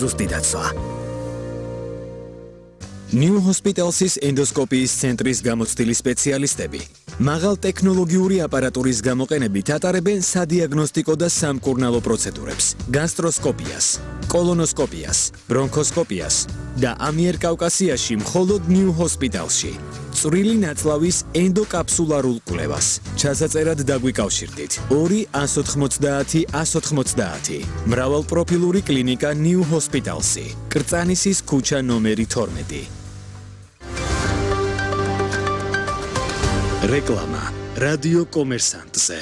ზუსტი დაცვა. New Hospital's ენდოსკოპიის ცენტრის გამოცდილი სპეციალისტები მაღალ ტექნოლოგიური აპარატურის გამოყენებით ატარებენ სადიაგნოსტიკო და სამკურნალო პროცედურებს, გასტროსკოპიას, კოლონოსკოპიას, ბრონქოსკოპიას და ამიერკავკასიაში მხოლოდ New Hospitalში. წვრილი ნაწლავის ენდოკაფსულარულ კვლევას. ჩასაწერად დაგვიკავშირდით 2-190-190. მრავალპროფილური კლინიკა New Hospital's. კრწანისის ქუჩა ნომერი 12. რეკლამა რადიო კომერსანტზე.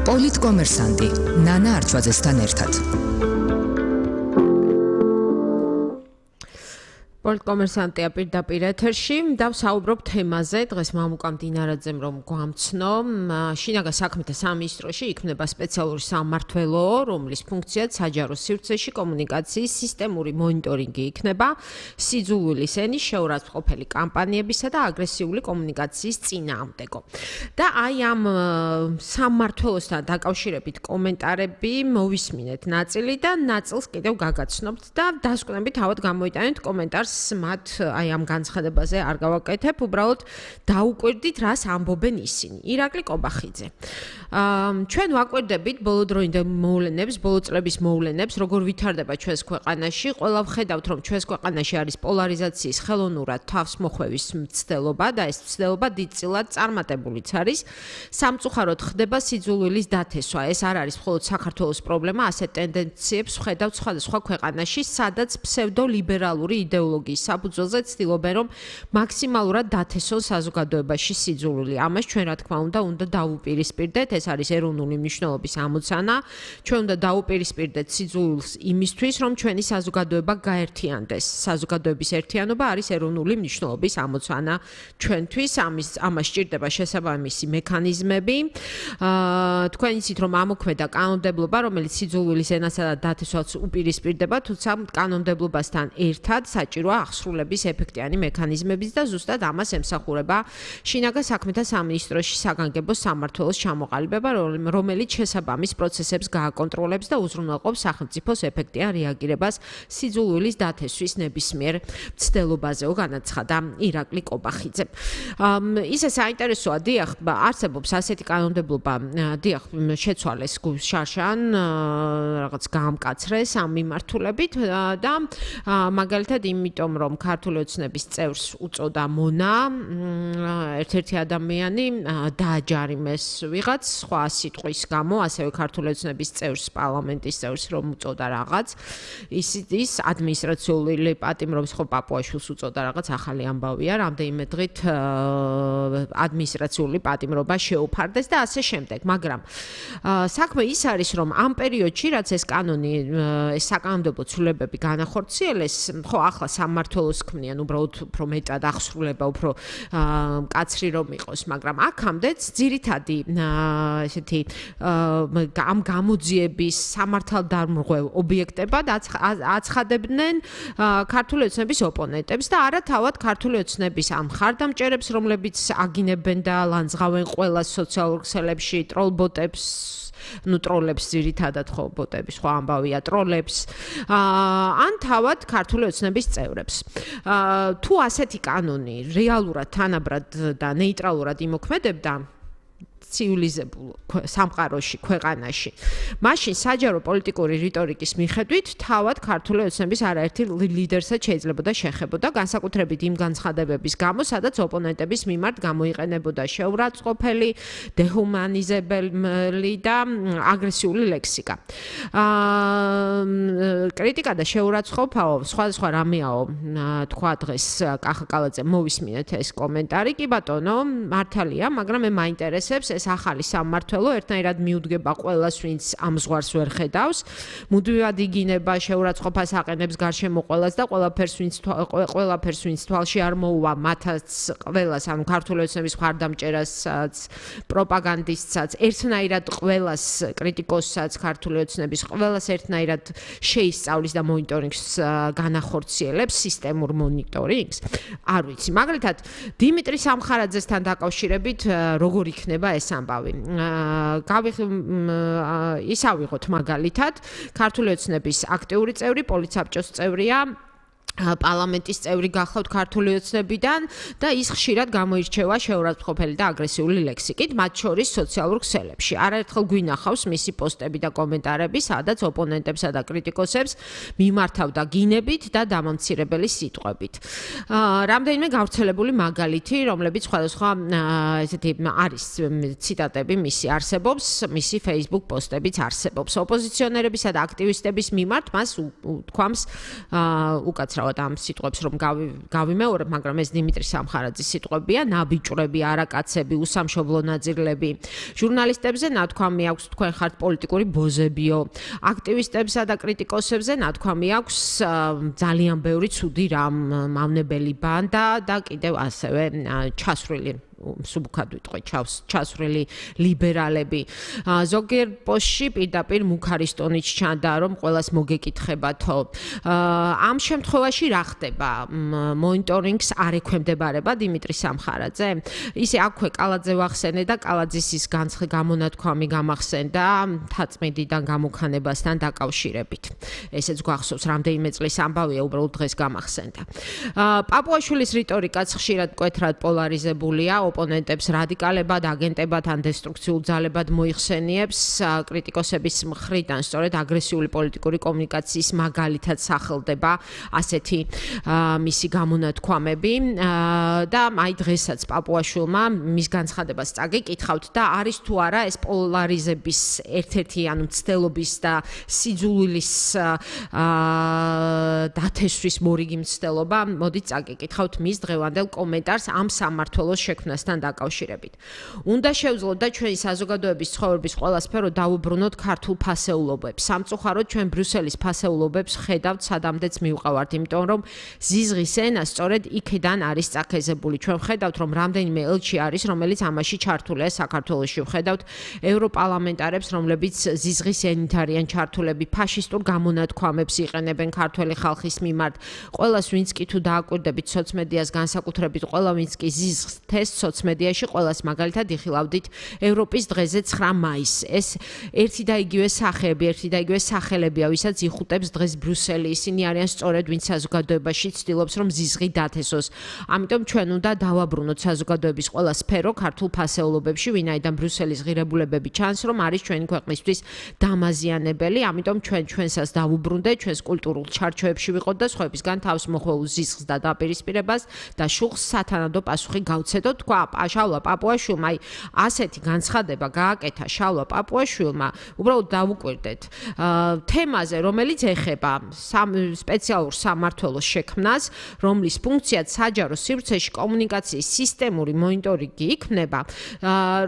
პოლიტკომერსანტი ნანა არჩვაძესთან ერთად. პოლიტკომერსანტია პირდაპირ ეთერში და ვსაუბრობ თემაზე დღეს მამუკა მდინარაძემ რომ გვამცნო შინაგან საქმეთა სამინისტროში იქნება სპეციალური სამმართველო რომლის ფუნქციაც საჯარო სივრცეში კომუნიკაციის სისტემური მონიტორინგი იქნება სიძულვილის ენის შეურაცხმყოფელი კამპანიებისა და აგრესიული კომუნიკაციის წინააღმდეგო და აი ამ სამმართველოსთან დაკავშირებით კომენტარები მოვისმინეთ ნაწილი და ნაწილს კიდევ გაგაცნობთ და დასკვნებით თავად გამოიტანეთ კომენტარს მათ აი ამ განცხადებაზე არ გავაკეთებ, უბრალოდ დაუკვირდით რას ამბობენ ისინი. ირაკლი კობახიძე. ჩვენ ვაკვირდებით ბოლოდროინდელ მოვლენებს, ბოლო წლების მოვლენებს, როგორ ვითარდება ჩვენს ქვეყანაში. ყველა ვხედავთ, რომ ჩვენს ქვეყანაში არის პოლარიზაციის ხელოვნურად თავს მოხვევის მცდელობა და ეს მცდელობა დიდწილად წარმატებულიც არის. სამწუხაროდ ხდება სიძულვილის დათესვა. ეს არ არის მხოლოდ საქართველოს პრობლემა, ასეთ ტენდენციებს ვხედავთ სხვადასხვა ქვეყანაში, სადაც ფსევდოლიბერალური იდეოლოგია საფუძველზე ცდილობენ რომ მაქსიმალურად დათესონ საზოგადოებაში სიძულვილი. ამას ჩვენ რა თქმა უნდა დაუპირისპირდეთ, ეს არის ეროვნული მნიშვნელობის ამოცანა. ჩვენ უნდა დაუპირისპირდეთ სიძულვილს იმისთვის, რომ ჩვენი საზოგადოება გაერთიანდეს. საზოგადოების ერთიანობა არის ეროვნული მნიშვნელობის ამოცანა ჩვენთვის. ამას სჭირდება შესაბამისი მექანიზმები. თქვენ იცით რომ ამოქმედა კანონმდებლობა, რომელიც სიძულვილის ენასა და დათესვას უპირისპირდება, თუმცა კანონმდებლობასთან ერთად საჭიროა აღსრულების ეფექტიანი მექანიზმების და ზუსტად ამას ემსახურება შინაგან საქმეთა სამინისტროში საგანგებო სამმართველოს ჩამოყალიბება, რომელიც შესაბამის პროცესებს გააკონტროლებს და უზრუნველყოფს სახელმწიფოს ეფექტიან რეაგირებას სიძულვილის დათესვის ნებისმიერ მცდელობაზეო განაცხადა ირაკლი კობახიძე. ისე საინტერესოა, დიახ, არსებობს ასეთი კანონმდებლობა, დიახ, შეცვალეს შარშან, რაღაც გაამკაცრეს ამ მიმართულებით და მაგალითად იმიტომ რომ ქართული ოცნების წევრს უწოდა მონა ერთ-ერთი ადამიანი დააჯარიმეს ვიღაც სხვა სიტყვის გამო, ასევე ქართული ოცნების წევრს, პარლამენტის წევრს რომ უწოდა რაღაც ის ადმინისტრაციული პატიმრობის ხო პაპუაშვილს უწოდა რაღაც ახალი ამბავია, რამდენიმე დღით ადმინისტრაციული პატიმრობა შეუფარდეს და ასე შემდეგ, მაგრამ საქმე ის არის რომ ამ პერიოდში რაც ეს კანონი ეს საკანონმდებლო ცვლილებები განახორციელეს, ხო ახლა სამმართველოს ქმნიან უბრალოდ უფრო მეტად აღსრულება, უფრო მკაცრი რომ იყოს, მაგრამ აქამდეც ძირითადი ესეთი ამ გამოძიების სამართალდამრღვევ ობიექტებად აცხადებდნენ ქართული ოცნების ოპონენტებს და არა თავად ქართული ოცნების ამ მხარდამჭერებს, რომლებიც აგინებენ და ლანძღავენ ყველა სოციალურ ქსელებში ტროლბოტებს ტროლებს ძირითადად ხო ბოტების ხო ამბავია ტროლებს ან თავად ქართული ოცნების წევრებს. თუ ასეთი კანონი რეალურად თანაბრად და ნეიტრალურად იმოქმედებდა ცივილიზებულ სამყაროში, ქვეყანაში. მაშინ საჯარო პოლიტიკური რიტორიკის მიხედვით თავად ქართული ოცნების არაერთი ლიდერსაც შეიძლებოდა შეხებოდა განსაკუთრებით იმ განცხადებების გამო, სადაც ოპონენტების მიმართ გამოიყენებოდა შეურაცხმყოფელი, დეჰუმანიზებელი და აგრესიული ლექსიკა. კრიტიკა და შეურაცხმყოფაო, სხვადასხვა რამეაო, თქვა დღეს კახა კალაძემ მოვისმინეთ ეს კომენტარი, კი ბატონო, მართალია, მაგრამ მე მაინტერესებს ეს ახალი სამმართველო ერთნაირად მიუდგება ყველას, ვინც ამ ზღვარს ვერ ხედავს, მუდმივად იგინება შეურაცხმყოფას აყენებს გარშემო ყველას და ყველაფერს ვინც თვალში არ მოუვა, მათაც ყველას, ანუ ქართული ოცნების მხარდამჭერასაც, პროპაგანდისტსაც, ერთნაირად ყველას კრიტიკოსსაც, ქართული ოცნების ყველას ერთნაირად შეისწავლის და მონიტორინგს განახორციელებს, სისტემურ მონიტორინგს. არ ვიცი, მაგალითად, დიმიტრი სამხარაძესთან დაკავშირებით როგორ იქნება ეს ამბავი. ის ავიღოთ მაგალითად, ქართული ოცნების აქტიური წევრი, პოლიცაბჭოს წევრია, პარლამენტის წევრი გახლავთ ქართული ოცნებიდან და ის ხშირად გამოირჩევა შეურაცხყოფელი და აგრესიული ლექსიკით, მათ შორის სოციალურ ქსელებში. არაერთხელ გვინახავს მისი პოსტები და კომენტარები, სადაც ოპონენტებსა და კრიტიკოსებს მიმართავდა გინებით და დამამცირებელი სიტყვებით. რამდენიმე გავრცელებული მაგალითი, რომლებიც სხვადასხვა ესეთი არის ციტატები მისი არსებობს, მისი Facebook პოსტებიც არსებობს. ოპოზიციონერებისა და აქტივისტების მიმართ მას უთქვამს უკაცრავად ამ სიტყვებს რომ გავიმეორებ, მაგრამ ეს დიმიტრი სამხარაძის სიტყვებია, ნაბიჭვრები, არაკაცები, უსამშობლო ნაძირლები. ჟურნალისტებზე ნათქვამი აქვს, თქვენ ხართ პოლიტიკური ბოზებიო. აქტივისტებსა და კრიტიკოსებზე ნათქვამი აქვს, ძალიან ბევრი ცუდი რამ, მავნებელი ბანდა და კიდევ ასევე ჩასვრილი სუბუქად ვიტყვი ჩასვრილი ლიბერალები. ზოგიერთ პოსტში პირდაპირ მუქარის ტონით ჩანდა, რომ ყველას მოგეკითხებათო. ამ შემთხვევაში რა ხდება? მონიტორინგს არ ექვემდებარება დიმიტრი სამხარაძე? ისე აქვე კალაძე ვახსენე და კალაძის ის გამონათქვამი გამახსენდა თაწმიდიდან გამოქანებასთან დაკავშირებით. ესეც გვახსოვს, რამდენიმე წლის ამბავია, უბრალოდ დღეს გამახსენდა. პაპუაშვილის რიტორიკაც ხშირად მკვეთრად პოლარიზებულია, ოპონენტებს რადიკალებად, აგენტებად ან დესტრუქციულ ძალებად მოიხსენიებს, კრიტიკოსების მხრიდან სწორედ აგრესიული პოლიტიკური კომუნიკაციის მაგალითად სახელდება ასეთი მისი გამონათქვამები და აი დღესაც პაპუაშვილმა მის განცხადებას წაგიკითხავთ და არის თუ არა ეს პოლარიზების ერთ-ერთი ანუ მცდელობის და სიძულვილის დათესვის მორიგი მცდელობა. მოდით წაგიკითხავთ მის დღევანდელ კომენტარს ამ სამმართველოს შექმნასთან დაკავშირებით. უნდა შევძლოთ და ჩვენი საზოგადოების ცხოვრების ყველა სფერო დაუბრუნოთ ქართულ ფასეულობებს. სამწუხაროდ ჩვენ ბრიუსელის ფასეულობებს ხედავთ სადამდეც მივყავართ, იმიტომ რომ ზიზღის ენა სწორედ იქიდან არის წაქეზებული. ჩვენ ხედავთ, რომ რამდენიმე ელჩი არის, რომელიც ამაში ჩართულია საქართველოში. ხედავთ ევროპარლამენტარებს, რომლებიც ზიზღის ენით არიან ჩართულები, ფაშისტურ გამონათქვამებს იყენებენ ქართველი ხალხის მიმართ. ყველას ვინც კი თუ დააკვირდებით სოციმედიას განსაკუთრებით, ყველა ვინც კი ზიზღს თესს სოციმედიაში, ყველას მაგალითად იხილავდით ევროპის დღეზე 9 მაისს. ეს ერთი და იგივე სახეები, ერთი და იგივე სახელებია, ვისაც იხუტებს დღეს ბრიუსელი. ისინი არიან სწორედ ვინც საზოგადოებაში ცდილობს, რომ ზიზღი დათესოს. ამიტომ ჩვენ უნდა დავაბრუნოთ საზოგადოების ყველა სფერო ქართულ ფასეულობებში, ვინაიდან ბრიუსელის ღირებულებები ჩანს, რომ არის ჩვენი ქვეყნისთვის დამაზიანებელი. ამიტომ ჩვენსაც დავუბრუნდეთ, ჩვენს კულტურულ ჩარჩოებში ვიყოთ და სხვებისგან თავს მოხვეულ ზიზღს და დაპირისპირებას და შუხს სათანადო პასუხი გავცედოთ. თქვა შალვა პაპუაშვილმა, აი ასეთი განცხადება გააკეთა შალვა პაპუაშვილმა, უბრალოდ დავუკვირდეთ თემაზე, რომელიც ეხება სპეციალურ სამმართველოს შექმნას, რომლის ფუნქციად საჯარო სივრცეში კომუნიკაციის სისტემური მონიტორინგი იქმნება,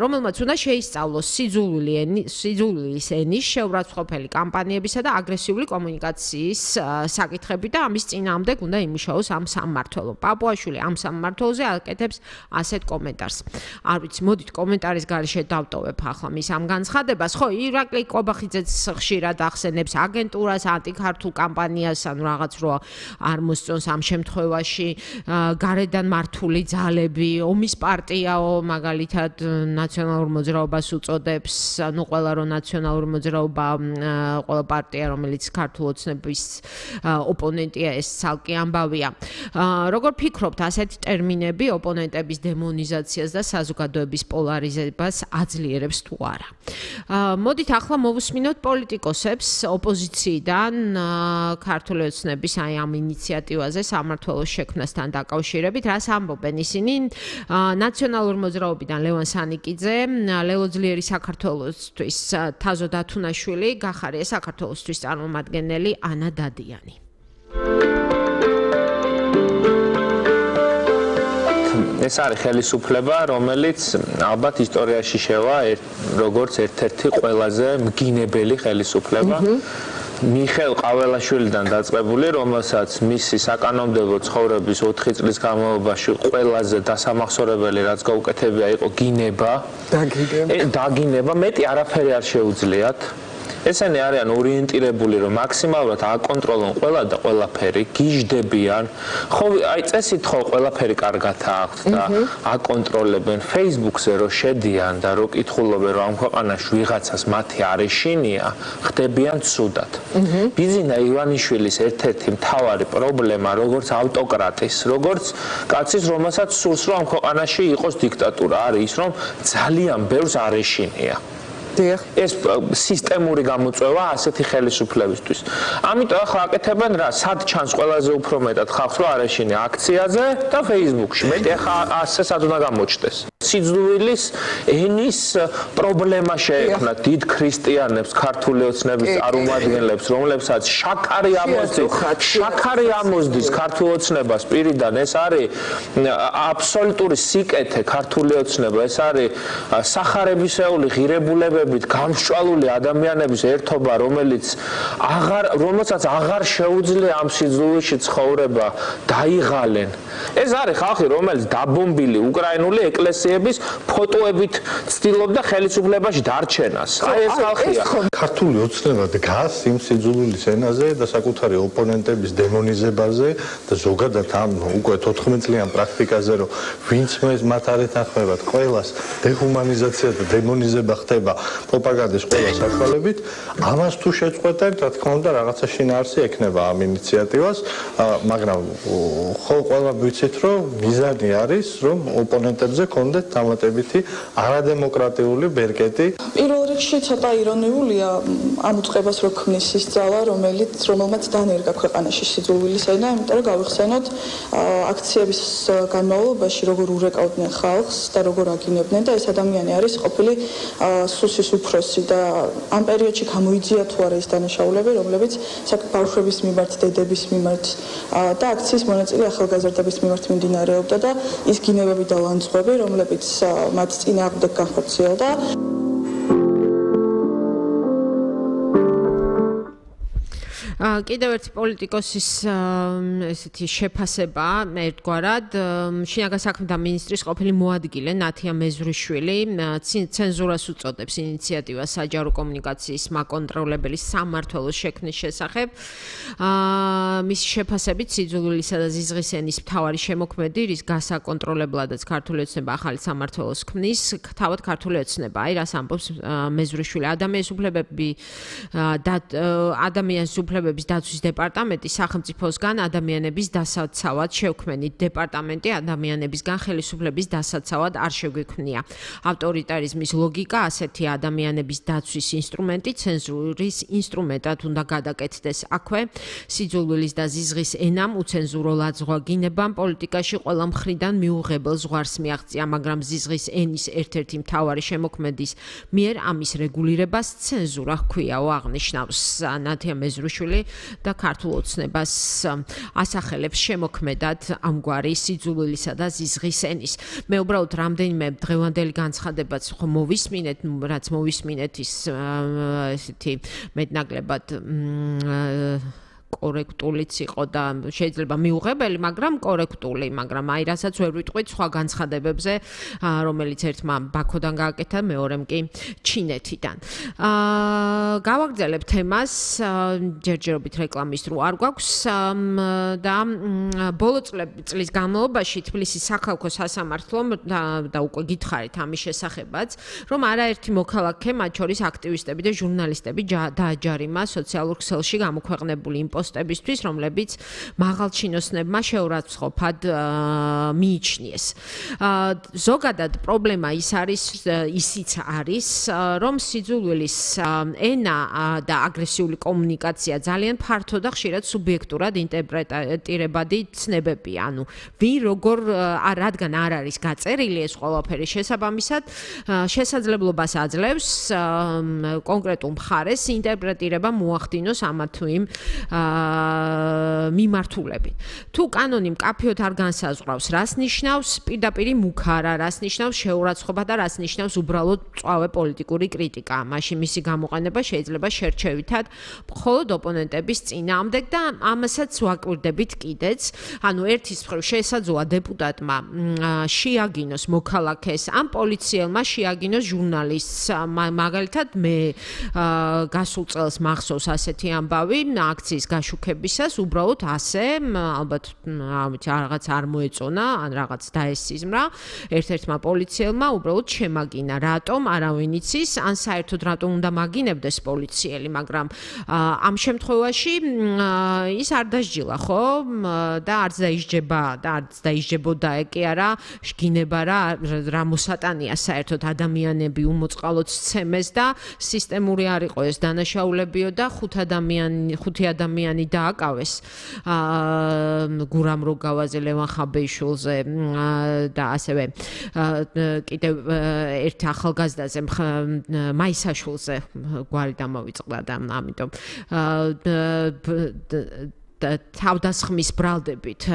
რომელმაც უნდა შეისწავლოს სიძულვილის ენის, შეურაცხყოფელი კამპანიებისა და აგრესიული კომუნიკაციის საკითხები და ამის წინააღმდეგ უნდა იმუშაოს ამ სამმართველომ. პაპუაშვილი ამ სამმართველოზე აკეთებს ასეთ კომენტარს. არ ვიცი, მოდით კომენტარის გარეშე დავტოვებ ახლა მის ამ განცხადებას. ხო, ირაკლი კობახიძეც ხშირად ახსენებს აგენტურას, ანტიქართულ კამპანიას, ანუ რაღაც რო არ მოსწონს ამ შემთხვევაში გარედან მართული ძალები, ომის პარტიაო, მაგალითად ნაციონალურ მოძრაობას უწოდებს, ნუ ყველა რო ნაციონალური მოძრაობა, ყველა პარტია, რომელიც ქართულ ოცნების ოპონენტია, ეს ცალკე ამბავია. როგორ ფიქრობთ, ასეთი ტერმინები ოპონენტების დემონიზაციას და საზოგადოების პოლარიზებას აძლიერებს თუ არა? მოდით ახლა მოვუსმინოთ პოლიტიკოსებს ოპოზიციიდან ქართული ოცნების აი ამ ინიციატივაზე სამმართველოს შექმნასთან დაკავშირებით, რას ამბობენ ისინი? ნაციონალურ მოძრაობიდან ლევან სანიკიძე, ლელო ძლიერი საქართველოსთვის თაზო დათუნაშვილი, გახარია საქართველოსთვის წარმომადგენელი ანა დადიანი. ეს არის ხელისუფლება, რომელიც ალბათ ისტორიაში შევა როგორც ერთ-ერთი ყველაზე მგინებელი ხელისუფლება. მიხეილ ყაველაშვილიდან დაწყებული, რომელსაც მისი საკანონმდებლო ცხოვრების 4 წლის განმავლობაში ყველაზე დასამახსოვრებელი რაც გაუკეთებია იყო გინება. დაგინება, მეტი არაფერი არ შეუძლიათ. ესენი არიან ორიენტირებული, რომ მაქსიმალურად აკონტროლონ ყველა და ყველაფერი, გიждდებიან. ხო, აი წესით ხო ყველაფერი კარგად აქვთ და აკონტროლებენ. Facebook-ზე რო შედიან და რო კითხულობენ, რომ ამ ქვეყანაში ვიღაცას მათი არეშინია, ხდებიან ცუდად. ბიზინა ივანიშვილის ერთ-ერთი მთავარი პრობლემა, როგორც ავტოკრატის, როგორც კაცის, რომელსაც სურს, რომ ამ ქვეყანაში იყოს დიქტატურა, არის ის, რომ ძალიან ბევრს არეშინია. ეს სისტემური გამოწვევა ასეთი ხელისუფლებისთვის. ამიტომ ახლა აკეთებენ რა, სად ჩანს ყველაზე უფრო მეტად ხალხს რო არეშინია აქციაზე და Facebook-ში. მეტი ახლა ასე სად უნდა გამოჩნდეს. სიძულვილის ენის პრობლემა შეექმნათ დიდ ქრისტიანებს, ქართული ოცნების წარმომადგენლებს, რომლებსაც შაქარი ამოსდის ქართულ ოცნებას პირიდან. ეს არის აბსოლუტური სიკეთე ქართული ოცნება, ეს არის სახარებისეული ღირებულებებით გამსჭვალული ადამიანების ერთობა, რომელსაც აღარ შეუძლია ამ სიძულვილში ცხოვრება დაიღალენ. ეს არის ხალხი, რომელიც დაბომბილი უკრაინული ეკლესიების ფოტოებით ცდილობდა ხელისუფლებაში დარჩენას. აი ეს ხალხია. ქართული ოცნება დგას იმ სიძულვილის ენაზე და საკუთარი ოპონენტების დემონიზებაზე და ზოგადად ამ უკვე 14 წლიან პრაქტიკაზე, რომ ვინც მათ არ ეთანხმებათ, ყველას დეჰუმანიზაცია და დემონიზება ხდება პროპაგანდის ყველა საშუალებით. ამას თუ შეწყვეტენ, რა თქმა უნდა, რაღაცა შინაარსი ექნება ამ ინიციატივას, მაგრამ ხო ყველა ვიცით, რომ მიზანი არის, რომ ოპონენტებზე კონდეთ დამატებითი არადემოკრატიული ბერკეტი. პირველ რიგში ცოტა ირონიულია ამ უწყებას რო ქმნის ის ძალა, რომელმაც დანერგა ქვეყანაში სიძულვილის ენა, იმიტომ რომ გავიხსენოთ აქციების განმავლობაში როგორ ურეკავდნენ ხალხს და როგორ აგინებდნენ და ეს ადამიანი არის ყოფილი სუსის უფროსი და ამ პერიოდში გამოიძია თუ არა ის დანაშაულები, რომლებიც ბავშვების მიმართ, დედების მიმართ და აქციის მონაწილე ახალგაზრდების მიმართ მიმდინარეობდა და ის გინებები და ლანძღვები, რომლებიც მათ წინააღმდეგ განხორციელდა. კიდევ ერთი პოლიტიკოსის ესეთი შეფასება ერთგვარად შინაგან საქმეთა მინისტრის ყოფილი მოადგილე ნათია მეზურიშვილი ცენზურას უწოდებს ინიციატივას საჯარო კომუნიკაციის მაკონტროლებელი სამმართველოს შექმნის შესახებ. მისი შეფასებით სიძულვილისა და ზიზღის ენის მთავარი შემოქმედი, რის გასაკონტროლებლადაც ქართული ოცნება ახალი სამმართველოს ქმნის, თავად ქართული ოცნება. აი რას ამბობს მეზურიშვილი, ადამიანის უფლებების დაცვის დეპარტამენტი სახელმწიფოსგან ადამიანების დასაცავად შევქმნით. დეპარტამენტი ადამიანებისგან ხელისუფლების დასაცავად არ შეგვიქმნია. ავტორიტარიზმის ლოგიკა ასეთი ადამიანების დაცვის ინსტრუმენტი ცენზურის ინსტრუმენტად უნდა გადაკეთდეს. აქვე სიძულვილის და ზიზღის ენამ უცენზურო ლაძღვა გინებამ პოლიტიკაში ყველა მხრიდან მიუღებელ ზღვარს მიაღწია, მაგრამ ზიზღის ენის ერთ-ერთი მთავარი შემოქმედის მიერ ამის რეგულირებას ცენზურა ჰქვიაო აღნიშნავს ნათია მეზურიშვილი და ქართულ ოცნებას ასახელებს შემოქმედად ამგვარი სიძულვილისა და ზიზღის ენის. მე უბრალოდ რამდენიმე დღევანდელი განცხადებაც მოვისმინეთ, რაც მოვისმინეთ ის ესეთი მეტნაკლებად კორექტულიც იყო და შეიძლება მიუღებელი, მაგრამ კორექტული, მაგრამ აი რასაც ვერ ვიტყვით სხვა განცხადებებზე, რომელიც ერთმა ბაქოდან გააკეთა, მეორემ კი ჩინეთიდან. გავაგრძელებ თემას, ჯერჯერობით რეკლამის დრო არ გვაქვს და ბოლო წლის განმავლობაში თბილისის სახალხო სასამართლომ და უკვე გითხარით ამის შესახებაც, რომ არაერთი მოქალაქე, მათ შორის აქტივისტები და ჟურნალისტები დააჯარიმა სოციალურ ქსელში გამოქვეყნებული პოსტებისთვის, რომლებიც მაღალჩინოსნებმა შეურაცხყოფად მიიჩნიეს. ზოგადად პრობლემა ისიც არის, რომ სიძულვილის ენა და აგრესიული კომუნიკაცია ძალიან ფართო და ხშირად სუბიექტურად ინტერპრეტირებადი ცნებებია. ანუ ვინ როგორ რადგან არ არის გაწერილი ეს ყველაფერი შესაბამისად შესაძლებლობას აძლევს კონკრეტულ მხარეს ინტერპრეტირება მოახდინოს ამა თუ იმ მიმართულებით. თუ კანონი მკაფიოდ არ განსაზღვრავს, რას ნიშნავს პირდაპირი მუქარა, რას ნიშნავს შეურაცხყოფა და რას ნიშნავს უბრალოდ მწვავე პოლიტიკური კრიტიკა, მაშინ მისი გამოყენება შეიძლება შერჩევითად მხოლოდ ოპონენტების წინააღმდეგ და ამასაც ვაკვირდებით კიდეც. ანუ ერთის მხრივ შესაძლოა დეპუტატმა შეაგინოს მოქალაქეს ან პოლიციელმა შეაგინოს ჟურნალისტს. მაგალითად მე გასულ წელს მახსოვს ასეთი ამბავი აქციის გაშუქებისას უბრალოდ ასე ალბათ რაღაც არ მოეწონა ან რაღაც დაესიზმრა ერთ-ერთმა პოლიციელმა უბრალოდ შემაგინა რატომ არავინ იცის ან საერთოდ რატომ უნდა მაგინებდეს პოლიციელი მაგრამ ამ შემთხვევაში ის არ დასჯილა ხო და არც დაისჯება და არც დაისჯებოდა კი არა შგინება რა მოსატანია საერთოდ ადამიანები უმოწყალოდ სცემეს და სისტემური არ იყო ეს დანაშაულებიო და ხუთი ადამიანი დააკავეს გურამ როგავაზე ლევან ხაბეიშვილზე და ასევე კიდევ ერთ ახალგაზრდაზე მაისაშვილზე გვარი დამოვიწყდა და ამიტომ თავდასხმის ბრალდებით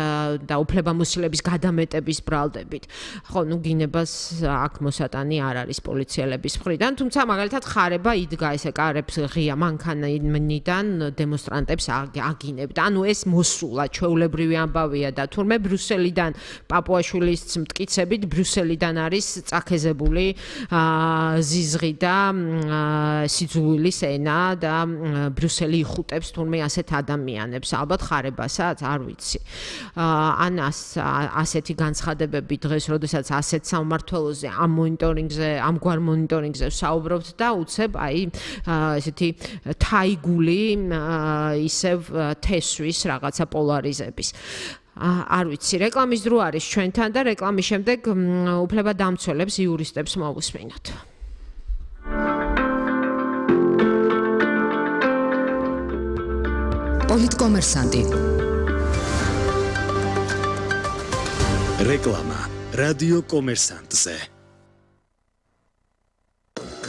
და უფლებამოსილების გადამეტების ბრალდებით. ხო, ნუ გინებას აქ მოსატანი არ არის პოლიციელების მხრიდან, თუმცა მაგალითად ხარება იდგა ესე კარებს ღია მანქანიდან დემონსტრანტებს აგინებდა. ანუ ეს მოსულა ჩვეულებრივი ამბავია და თურმე ბრიუსელიდან პაპუაშვილის მტკიცებით ბრიუსელიდან არის წაქეზებული ზიზღი და სიძულვილის ენა და ბრიუსელი იხუტებს თურმე ასეთ ადამიანებს. ალბათ ხარებასაც არ ვიცი. ან ასეთი განცხადებები დღეს, როდესაც ასეთ სამმართველოზე ამ მონიტორინგზე, ამგვარ მონიტორინგზე საუბრობთ და უცებ აი ესეთი თაიგული ისევ თესვის რაღაცა პოლარიზების. არ ვიცი, რეკლამის დრო არის ჩვენთან და რეკლამის შემდეგ უფლებადამცველებს იურისტებს მოვუსმინოთ. პოლიტკომერსანტი. რეკლამა რადიო კომერსანტზე.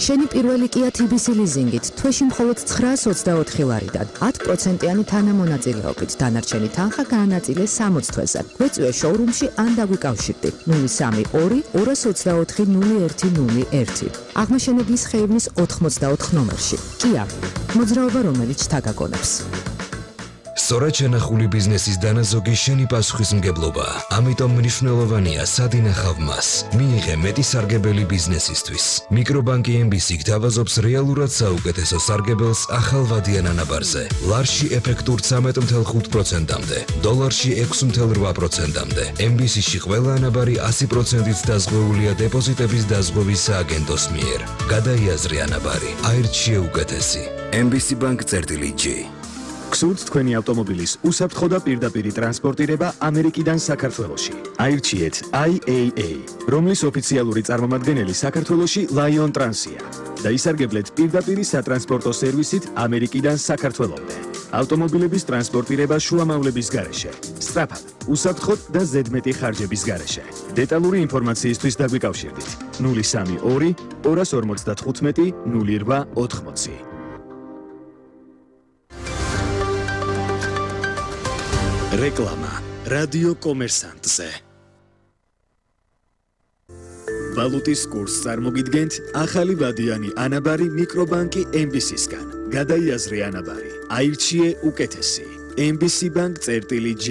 შენი პირველი Kia TBC ლიზინგით თვეში მხოლოდ 924 ლარიდან 10%-იანი თანამონაწილეობით დანარჩენი თანხა გაანაწილე 60 თვეზე. გვეწვიე შოურუმში ან დაგვიკავშირდი 032 224 0101. აღმაშენებლის ხეივნის 84 ნომერში. Kia, მოძრაობა რომელიც თაგაგონებს. სწორად შენახული ბიზნესის დანაზოგი შენი პასუხისმგებლობა. ამიტომ მნიშვნელოვანია სად ინახავ მას. მიიღე მეტი სარგებელი ბიზნესისთვის. მიკრობანკი MBC გთავაზობს რეალურად საუკეთესო სარგებელს ახალ ვადიან ანაბარზე. ლარში ეფექტურ 13.5%-მდე, დოლარში 6.8%-მდე. MBC-ში ყველა ანაბარი 100%-ით დაზღვეულია დეპოზიტების დაზღვევის სააგენტოს მიერ. გადაიაზრე ანაბარი. აირჩიე უკეთესი. MBC Bank-G. გსურთ თქვენი ავტომობილის უსაფრთხო და პირდაპირი ტრანსპორტირება ამერიკიდან საქართველოში. აირჩიეთ IAA, რომლის ოფიციალური წარმომადგენელი საქართველოში Lion Trans-ია და ისარგებლეთ პირდაპირი სატრანსპორტო სერვისით ამერიკიდან საქართველომდე. ავტომობილების ტრანსპორტირება შუამავლების გარეშე, სწრაფად, უსაფრთხოდ და ზედმეტი ხარჯების გარეშე. დეტალური ინფორმაციისთვის დაგვიკავშირდით 032 255 0880. რეკლამა რადიო კომერსანტზე. ვალუტის კურსს წარმოგიდგენთ ახალი ვადიანი ანაბარი მიკრობანკი MBC-სგან. გადაიაზრე ანაბარი. აირჩიე უკეთესი. MBC Bank-G.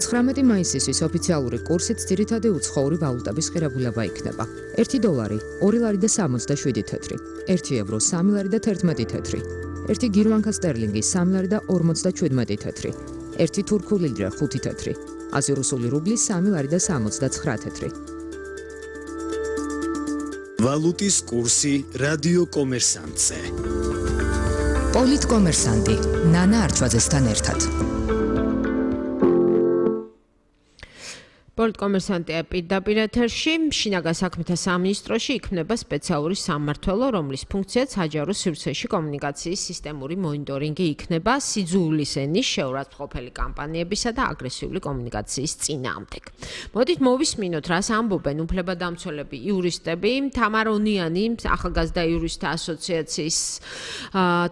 19 მაისისთვის ოფიციალური კურსით ძირითადი უცხოური ვალუტების ღირებულება იქნება. 1 დოლარი 2 ლარი და 67 თეთრი, 1 ევრო 3 ლარი და 11 თეთრი, 1 გირვანკა სტერლინგი 3 ლარი და 57 თეთრი. 1 თურქული ლირა 5 თეთრი, აზეროსული რუბლი 3 ლარი და 69 თეთრი. ვალუტის კურსი რადიო კომერსანტზე. პოლიტკომერსანტი ნანა არჩვაძესთან ერთად. პოლიტკომერსანტია პირდაპირ ეთერში, შინაგან საქმეთა სამინისტროში იქმნება სპეციალური სამმართველო, რომლის ფუნქციაც საჯარო სივრცეში კომუნიკაციის სისტემური მონიტორინგი იქნება სიძულვის ენის შეურაცხმყოფელი კამპანიებისა და აგრესიული კომუნიკაციის წინააღმდეგ. მოდით მოვისმინოთ, რას ამბობენ უფლებადამცველები, იურისტები. თამარ ონიანი, ახალგაზრდა იურისტთა ასოციაციის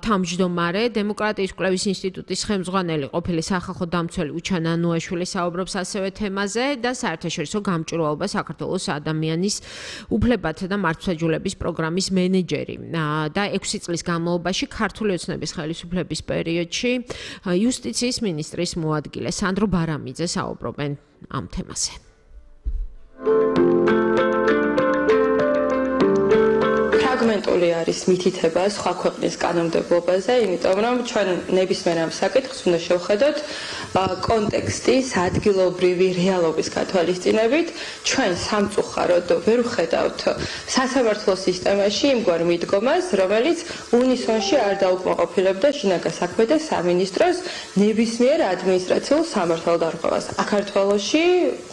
თავმჯდომარე, დემოკრატიის კვლევის ინსტიტუტის ხელმძღვანელი, ყოფილი სახალხო დამცველი უჩან ანუაშვილი საუბრობს ასევე თემაზე და საერთაშორისო გამჭვირვალობა საქართველოს ადამიანის უფლებათა და მართლმსაჯულების პროგრამის მენეჯერი და 6 წლის განმავლობაში ქართული ოცნების ხელისუფლების პერიოდში იუსტიციის მინისტრის მოადგილე სანდრო ბარამიძე საუბრობენ ამ თემაზე. ფრაგმენტული არის მითითება სხვა ქვეყნის კანონმდებლობაზე, იმიტომ რომ ჩვენ ნებისმიერ ამ საკითხს უნდა შევხედოთ კონტექსტის ადგილობრივი რეალობის გათვალისწინებით. ჩვენ სამწუხაროდ ვერ ვხედავთ სასამართლო სისტემაში იმგვარ მიდგომას, რომელიც უნისონში არ დაუკმაყოფილებდა შინაგან საქმეთა სამინისტროს ნებისმიერ ადმინისტრაციულ სამართალდარღვევას. საქართველოში,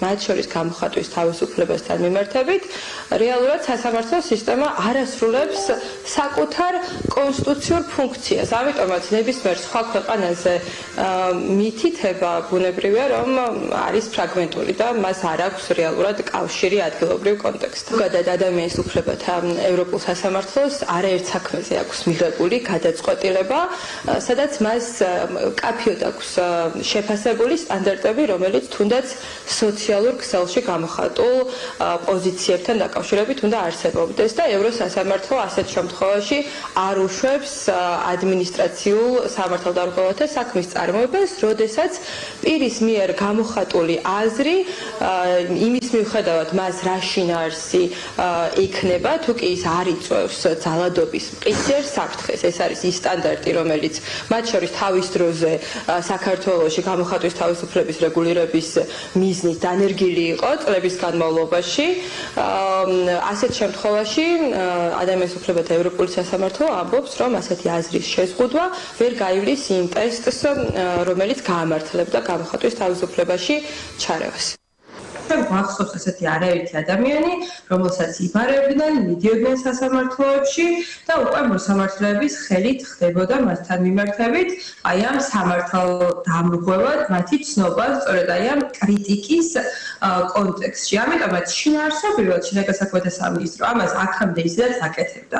მათ შორის გამოხატვის თავისუფლებასთან მიმართებით, რეალურად სასამართლო სისტემა არასრულებს საკუთარ კონსტიტუციურ ფუნქციას. ამიტომაც ნებისმიერ სხვა ქვეყანაზე მითითება ბუნებრივია, რომ არის ფრაგმენტული და მას არ აქვს რეალურად კავშირი ადგილობრივ კონტექსტთან. ზოგადად ადამიანის უფლებათა ევროპულ სასამართლოს არაერთ საქმეზე აქვს მიღებული გადაწყვეტილება, სადაც მას კაფიოდ აქვს შეფასებული სტანდარტები, რომელიც თუნდაც სოციალურ ქსელში გამოხატულ პოზიციებთან დაკავშირებით უნდა არსებობდეს და ევროსასამართლო ასეთ შემთხვევაში არ უშვებს ადმინისტრაციულ სამართალდარღვევათა საქმის წარმოებას, როდესაც პირის მიერ გამოხატული აზრი იმის მიუხედავად მას რა შინაარსი იქნება, თუ კი ის არ იწვევს ძალადობის მყისიერ საფრთხეს. ეს არის ის სტანდარტი, რომელიც მათ შორის თავის დროზე საქართველოში გამოხატვის თავისუფლების რეგულირების მიზნით დანერგილი იყო წლების განმავლობაში. ასეთ შემთხვევაში ადამიანის უფლებათა ევროპული სასამართლო ამბობს, რომ ასეთი აზრის შეზღუდვა ვერ გაივლის იმ ტესტს, რომელიც გაამართლებდა გამოხატვის თავისუფლებაში ჩარევას. ჩვენ გვახსოვს ასეთი არაერთი ადამიანი, რომელსაც იბარებდნენ, მიდიოდნენ სასამართლოებში და უკვე მოსამართლეების ხელით ხდებოდა მასთან მიმართებით აი ამ სამართალდამრღვევად მათი ცნობა სწორედ აი ამ კრიტიკის კონტექსტში. ამიტომაც შინაარსობრივად შინაგან საქმეთა სამინისტრო ამას აქამდე ისედაც აკეთებდა.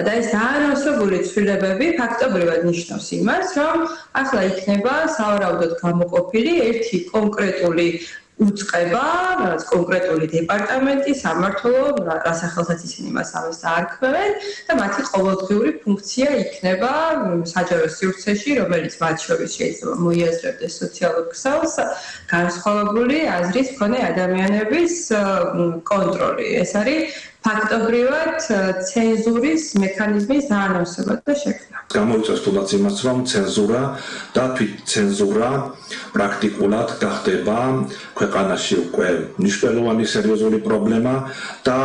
და ეს დაანონსებული ცვლილებები ფაქტობრივად ნიშნავს იმას, რომ ახლა იქნება სავარაუდოდ გამოყოფილი ერთი კონკრეტული უწყება, რაც კონკრეტული დეპარტამენტი, სამმართველო, რას სახელსაც ისინი მას ამას დაარქმევენ და მათი ყოველდღიური ფუნქცია იქნება საჯარო სივრცეში, რომელიც მათ შორის შეიძლება მოიაზრებდეს სოციალურ ქსელს, განსხვავებული აზრის მქონე ადამიანების კონტროლი. ეს არის ფაქტობრივად ცენზურის მექანიზმის დაანონსება და შექმნა. გამოიწვევს თუნდაც იმას, რომ ცენზურა და თვითცენზურა პრაქტიკულად გახდება ქვეყანაში უკვე მნიშვნელოვანი სერიოზული პრობლემა და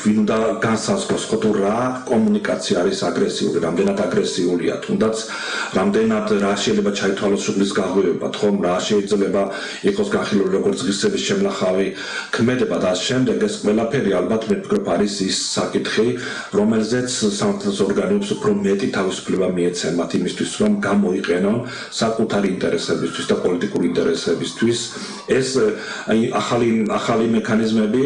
ვინ უნდა განსაზღვროს, თუ რა კომუნიკაცია არის აგრესიული, რამდენად აგრესიულია, თუნდაც რამდენად რა შეიძლება ჩაითვალოს შუბლის გაღვივება, ხომ რა შეიძლება იყოს განხილული როგორც ღირსების შემნახავი ქმედება და შემდეგ ეს ყველაფერი ალბათ მე ვფიქრობ არის ის საკითხი, რომელზეც სამართლის ორგანოებს უფრო მეტი თავისუფლება მიეცენ მათ იმისთვის, რომ გამოიყენონ საკუთარი ინტერესებისთვის და პოლიტიკური ინტერესებისთვის ეს ახალი მექანიზმები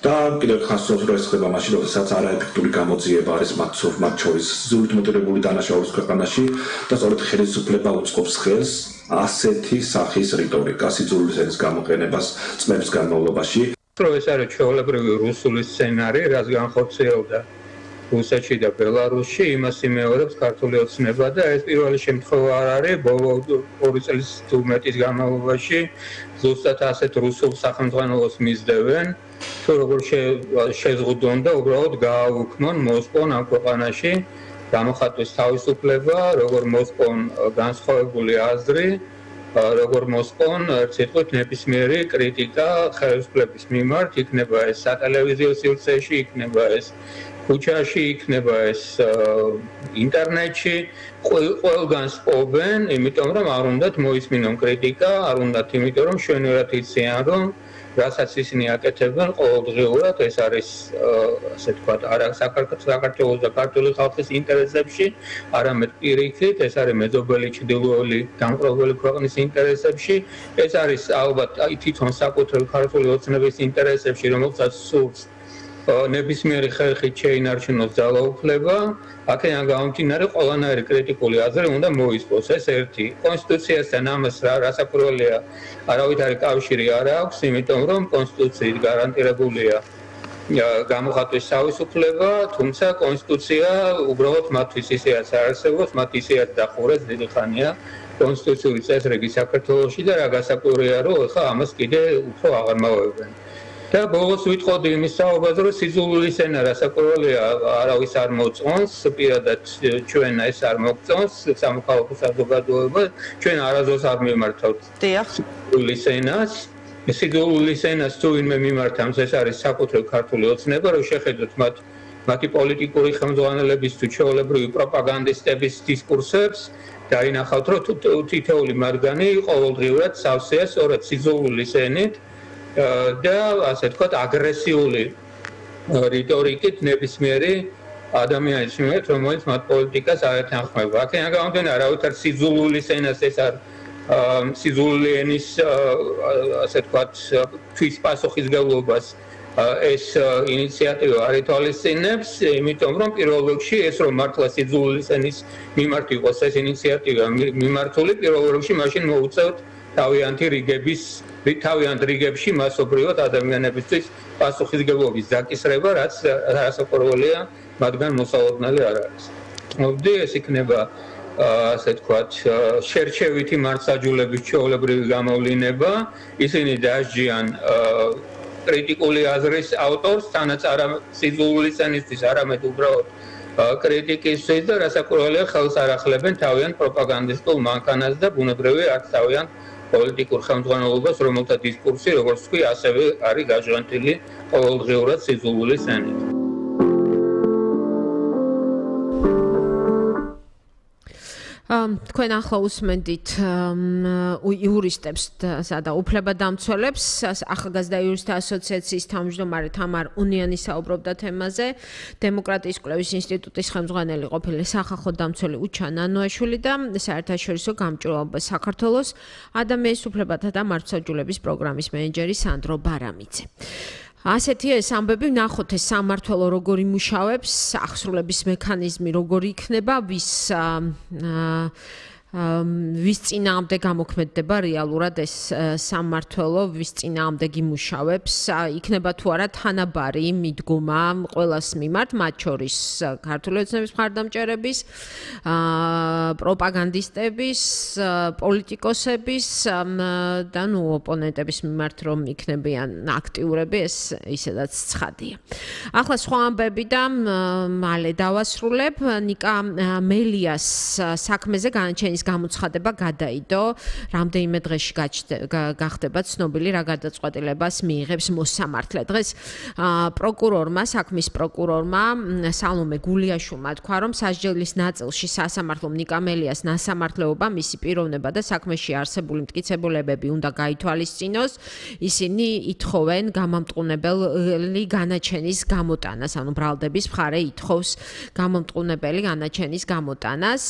და კიდევ ხასოს რო ეს ხდება მაშინ, როდესაც არაეფექტური გამოძიება არის მათ შორის სიზულით მოტივირებული დანაშაულის ქვეყანაში და სწორედ ხელისუფლება უწყობს ხელს ასეთი სახის რიტორიკა სიძულვის ენის გამოყენებას წლების განმავლობაში. ეს არის ჩვეულებრივი რუსული სცენარი, რაც განხორციელდა რუსეთში და ბელარუსში, იმას იმეორებს ქართული ოცნება და ეს პირველი შემთხვევა არ არის, ბოლო 2 წლის თუ მეტის განმავლობაში ზუსტად ასეთ რუსულ სახელმძღვანელოს მისდევენ, თუ როგორ შეზღუდონ და უბრალოდ გააუქმონ, მოსპონ ამ ქვეყანაში გამოხატვის თავისუფლება, როგორ მოსპონ განსხვავებული აზრი, როგორ მოსპონ ციტყვით ნებისმიერი კრიტიკა ხელისუფლების მიმართ, იქნება ეს სატელევიზიო სივრცეში, იქნება ეს ქუჩაში, იქნება ეს ინტერნეტში, ყველგან სპობენ, იმიტომ რომ არ უნდათ მოისმინონ კრიტიკა, არ უნდათ იმიტომ რომ შვენივრად იციან რომ რასაც ისინი აკეთებენ ყოველდღიურად, ეს არის ასე ვთქვათ, არა საქართველოს და ქართული ხალხის ინტერესებში, არამედ პირიქით, ეს არის მეზობელი ჩრდილოელი დამპყრობელი ქვეყნის ინტერესებში, ეს არის ალბათ თვითონ საკუთრებული ქართული ოცნების ინტერესებში, რომელსაც სურს ნებისმიერი ხერხით შეინარჩუნოს ძალაუფლება, აქედან გამომდინარე ყველანაირი კრიტიკული აზრი უნდა მოისპოს. ეს ერთი. კონსტიტუციასთან ამას რასაკვირველია, არავითარი კავშირი არ აქვს, იმიტომ რომ კონსტიტუციით გარანტირებულია გამოხატვის თავისუფლება, თუმცა კონსტიტუცია უბრალოდ მათთვის ისეაც არ არსებობს, მათ ისეაც დახურეს დიდი ხანია კონსტიტუციური წესრიგი საქართველოში და რა გასაკვირია, რომ ახლა ამას კიდე უფრო აღარ მოვებენ. და ბოლოს ვიტყოდი იმის საუბარზე, რომ სიძულვილის ენა რასაკვირველია არავის არ მოწონს, პირადად ჩვენ ეს არ მოგწონს, სამოქალაქო საზოგადოება, ჩვენ არასდროს არ მიმართავთ სიძულვილის ენას. სიძულვილის ენას თუ ვინმე მიმართავს, ეს არის საკუთრივ ქართული ოცნება, რომ შეხედოთ მათი პოლიტიკური ხელმძღვანელების თუ ჩვეულებრივი პროპაგანდისტების დისკურსებს და ინახავთ, რომ თითოეული მათგანი ყოველდღიურად სავსეა სწორედ სიძულვილის ენით და ასე ვთქვათ აგრესიული რიტორიკით ნებისმიერი ადამიანის მიმართ, რომელიც მათ პოლიტიკას არ ეთანხმება. აქედან გამომდინარე, არავითარ სიძულვილის ენას ეს არ სიძულვილი ენის ასე ვთქვათ თვის პასუხისმგებლობას ეს ინიციატივა არ ითვალისწინებს, იმიტომ რომ პირველ რიგში ეს რომ მართლა სიძულვილის ენის მიმართ იყოს ეს ინიციატივა მიმართული, პირველ რიგში მაშინ მოუწევთ თავიანთ რიგებში მასობრივად ადამიანებისთვის პასუხისმგებლობის დაკისრება, რაც რასაკვირველია, მათგან მოსალოდნელი არ არის. მოვდი, ეს იქნება ასე ვთქვათ, შერჩევითი მართლმსაჯულების ჩვეულებრივი გამოვლინება, ისინი დაასჯიან კრიტიკული აზრის ავტორს, თანაც არა სიძულვილის ენისთვის, არამედ უბრალოდ კრიტიკისთვის და რასაკვირველია, ხელს არ ახლებენ თავიანთ პროპაგანდისტულ მანქანას და ბუნებრივია არც თავიანთ პოლიტიკურ ხელმძღვანელობას, რომელთა დისკურსი, როგორც თქვი, ასევე არის გაჟღენტილი ყოველდღიურად სიძულვილის ენით. თქვენ ახლა უსმენდით იურისტებს და უფლებადამცველებს, ახალგაზრდა იურისტთა ასოციაციის თავმჯდომარე თამარ უნიანი საუბრობდა თემაზე, დემოკრატიის კვლევის ინსტიტუტის ხელმძღვანელი ყოფილი სახალხო დამცველი უჩა ნანოაშვილი და საერთაშორისო გამჭვირვალობა საქართველოს ადამიანის უფლებათა და მართლმსაჯულების პროგრამის მენეჯერი სანდრო ბარამიძე. ასეთია ეს ამბები, ნახოთ ეს სამმართველო როგორ იმუშავებს, აღსრულების მექანიზმი როგორ იქნება, ვის წინააღმდეგ გამოქმედდება რეალურად ეს სამმართველო, ვის წინააღმდეგ იმუშავებს, იქნება თუ არა თანაბარი მიდგომა ყველას მიმართ, მათ შორის ქართული ოცნების მხარდამჭერების, პროპაგანდისტების, პოლიტიკოსების და ოპონენტების მიმართ რომ იქნებიან აქტიურები, ეს ისედაც ცხადია. ახლა სხვა ამბები და მალე დავასრულებ. ნიკა მელიას საქმეზე განაჩენის გამოცხადება გადაიდო, რამდენიმე დღეში გახდება ცნობილი რა გადაწყვეტილებას მიიღებს მოსამართლე. დღეს პროკურორმა, საქმის პროკურორმა სალომე გულიაშვილმა თქვა, რომ სასჯელის ნაწილში სასამართლომ ნიკა მელიას ნასამართლეობა, მისი პიროვნება და საქმეში არსებული მტკიცებულებები უნდა გაითვალისწინოს. ისინი ითხოვენ გამამტყუნებელი განაჩენის გამოტანას, ანუ ბრალდების მხარე ითხოვს გამამტყუნებელი განაჩენის გამოტანას.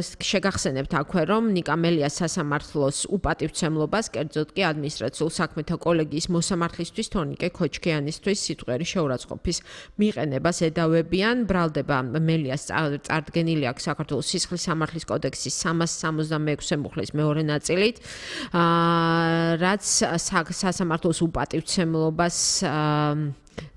შეგახსენებთ აქვე, რომ ნიკა მელიას სასამართლოს უპატივცემლობას, კერძოდ კი ადმინისტრაციულ საქმეთა კოლეგიის მოსამართლისთვის თორნიკე ქოჩქიანისთვის სიტყვიერი შეურაცხყოფის მიყენებას ედავებიან. ბრალდება მელიას წარდგენილი აქვს საქართველოს სისხლის სამართლის კოდექსის 366 მუხლის მეორე ნაწილით, რაც სასამართლოს უპატივცემლობას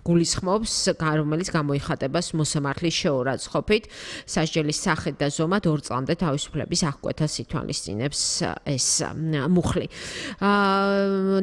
გულისხმობს, რომელიც გამოიხატება მოსამართლის შეურაცხყოფით, სასჯელის სახით და ზომად 2 წლამდე თავისუფლების აღკვეთას ითვალისწინებს ეს მუხლი.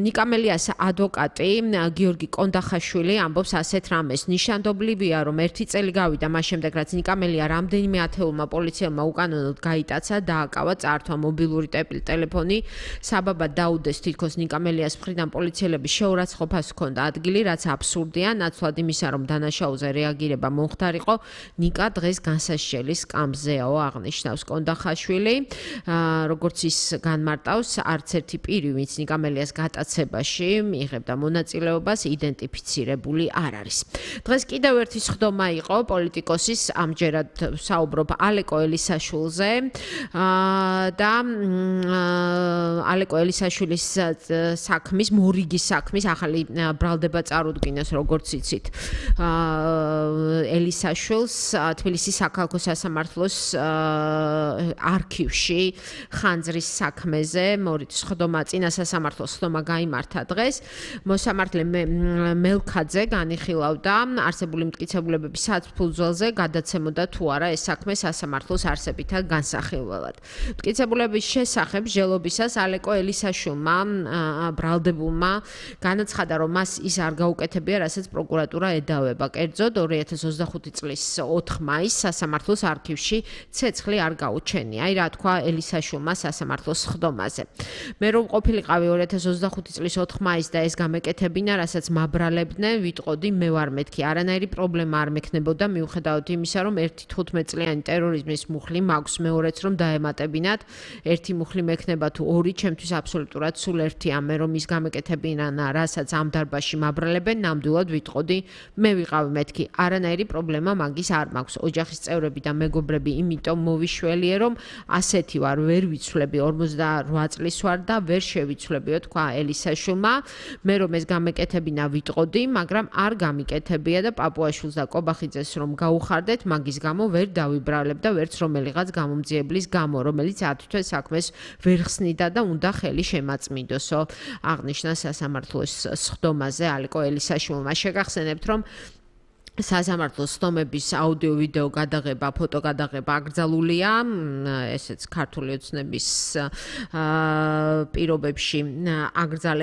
ნიკა მელიას ადვოკატი გიორგი კონდახაშვილი ამბობს ასეთ რამეს. ნიშანდობლივია, რომ 1 წელი გავიდა მას შემდეგ, რაც ნიკა მელია რამდენიმე ათეულმა პოლიციელმა უკანონოდ გაიტაცა, დააკავა, წაართვა მობილური ტელეფონი, საბაბად დაუდეს თითქოს ნიკა მელიას მხრიდან პოლიციელების შეურაცხყოფას ჰქონდა ადგილი, რაც აბსურდია. მიგონია ნაცვლად იმისა, რომ დანაშაულზე რეაგირება მომხდარიყო, ნიკა დღეს განსასჯელი სკამზეაო აღნიშნავს კონდახაშვილი. როგორც ის განმარტავს, არც ერთი პირი, ვინც ნიკა მელიას გატაცებაში მიიღებდა მონაწილეობას, იდენტიფიცირებული არ არის. დღეს კიდევ ერთი სხდომა იყო პოლიტიკოსის, ამჯერად საუბრობ ალეკო ელისაშვილზე და ალეკო ელისაშვილის საქმის, მორიგის საქმის ახალი ბრალდება წარუდგინეს, როგორც იცით. ელისაშვილს თბილისის საქალაქო სასამართლოს არქივში ხანძრის საქმეზე მორით სხდომა წინა სასამართლოს სხდომა გაიმართა დღეს. მოსამართლე მელქაძე განიხილავდა არსებული მტკიცებულებების სათბულძველზე გადაცემოდა თუ არა ეს საქმე სასამართლოს არსებითად განსახილველად. მტკიცებულების შესახებ ჟელობისას ალეკო ელისაშვილმა ბრალდებულმა განაცხადა, რომ მას ის არ გაუკეთებია, რასაც პროკურატურა ედავება. კერძოდ 2025 წლის 4 მაისს სასამართლოს არქივში ცეცხლი არ გაუჩენია. აი რა თქვა ელისაშვილმა სასამართლოს სხდომაზე. მე რომ ყოფილიყავი 2025 წლის 4 მაისს და ეს გამეკეთებინა, რასაც მაბრალებდნენ, ვიტყოდი მე ვარ მეთქი. არანაირი პრობლემა არ მექნებოდა, მიუხედავად იმისა, რომ ერთი 15 წლიანი ტერორიზმის მუხლი მაქვს, მეორეც რომ დაემატებინათ, ერთი მუხლი მექნება თუ ორი, ჩემთვის აბსოლუტურად სულ ერთია. მე რომ ის გამეკეთებინა, რასაც ამ დარბაზში მაბრალებენ, ნამდვილად ვიტყოდი, მე ვიყავი მეთქი. არანაირი პრობლემა მაგის არ მაქვს. ოჯახის წევრები და მეგობრები იმიტომ მოვიშველიე, რომ ასეთი ვარ, ვერ ვიცვლები, 48 წლის ვარ და ვერ შევიცვლებიო, თქვა ელისაშვილმა. მე რომ ეს გამეკეთებინა ვიტყოდი, მაგრამ არ გამიკეთებია და პაპუაშვილს და კობახიძეს რომ გაუხარდეთ, მაგის გამო ვერ დავიბრალებ და ვერც რომელიღაც გამომძიებლის გამო, რომელიც ათვთვე საქმეს ვერ ხსნიდა და უნდა ხელი შემაწმინდოსო. აღნიშნა სასამართლოს სხდომაზე ალეკო ელისაშვილმა. შეგახსენებთ, რომ სასამართლოს სხდომების აუდიო-ვიდეო გადაღება, ფოტო გადაღება აკრძალულია, ესეც ქართული ოცნების პირობებში აკრძალეს.